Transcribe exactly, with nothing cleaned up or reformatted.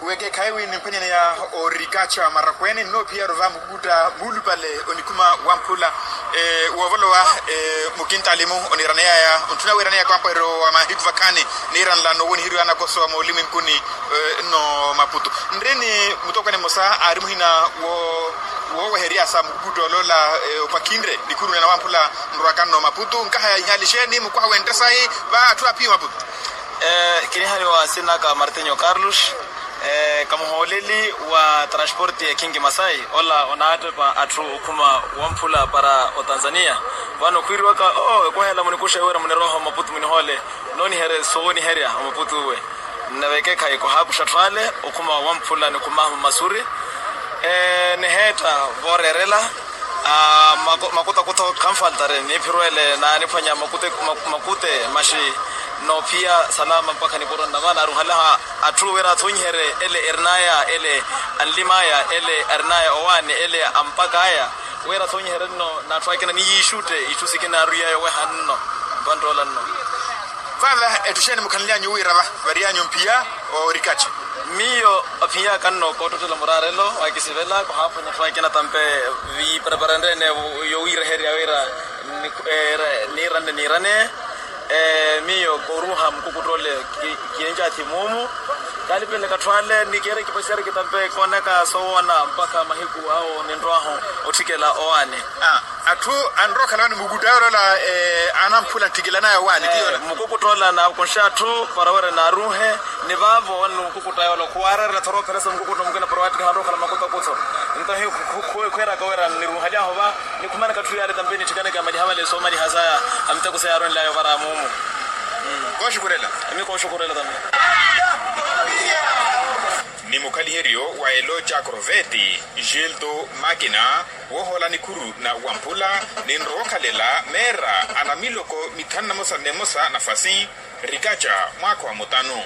Wekeekhayi wi nimphwanyaneya orikacha marakweene nnoophiya rova mukukutta muulupale onikhuma wamphula woovolowa. Mukintaalimu oniraneyaya ontthuna wiiraneya kampweheryo wa mahiku vakhaani niiranla nowoniheriwa nakoso mooliminkuni nno maputu nri ni mutokwene mmosa aari muhina wooweheryasa mukukutta oloola opakhinre nikhuru na nawamphula nrwaka nno maputu nkaha ya ihaali xeeni mukwaha wenttesayi va atthu aaphiya omaputu. Kinihaliwa sinaka martinho carlos, kamuhooleli wa transporti ya kingi masai ola onaattepa atthu okhuma wamphula para otanzania. Vano khwiiriwaka oo ekwaha ela munikuxe wira munirooha omaputu munihoole nooniherye soowoniherya omaputu uwe. Nnavekeekhayi khwahaakuxa atthu ale okhuma wamphula nikhumahu mmasuri niheetta vooreerela. Makutakutho khanfaltare niphirwele naaniphwanya makute maxi noophiya salama mpakha nipuro nnama naaruhalaha atthu wira athonyiherye ele erinaya ele anlimaya ele arinaya owaani ele ampakaya wira athonyiherye nno n'atthu akina niyiixutte itthu sikina aruyayo weha nno vanttoola nno. Vava etthu xeeni mukhanly'anyu wira va variy'anyu mphiya orikacha? Miyo aphiyaka nno koottottela muraarelo waakisivela khwahaaphwanya atthu akina tampe viiparapara nreene yowiireherya wira niiranne niiranne. Miyo kooruuha mukukutta ole kincathi muumu kaalipeleke atthu ale ni keera ekipaxiyari kitampe koonaka soowoona mpakha mahiku awo ninrwahu otthikela owaani. Atthu anrowa okhala wani mukutta awe oloola anamphula nttikilanaya owaani tiyola. Mukukutta ola naakunxe atthu para wira naaruuhe ni vaavo wani mukukutta awe ola khuwaareerela thora opheresa mukukutta mukina para waattikiha anrowa okhala makutakutho. Nto khweeraka wira niruuhaly'ahu va nikhumanaka atthu yaale tampe nittikanaka maliha vale soomaliha saya amitakusa yaaronly'aya ovara muumu. Kooxukurela. Emi kooxukurela tampe. Ni mukhaliheryo wa elooca korveti gildo makina woohoola nikhuru na wamphula ninrowa okhalela meera a namiloko mithanu na mosa na emosa nafasi rikaca mwaakha wa mutanu.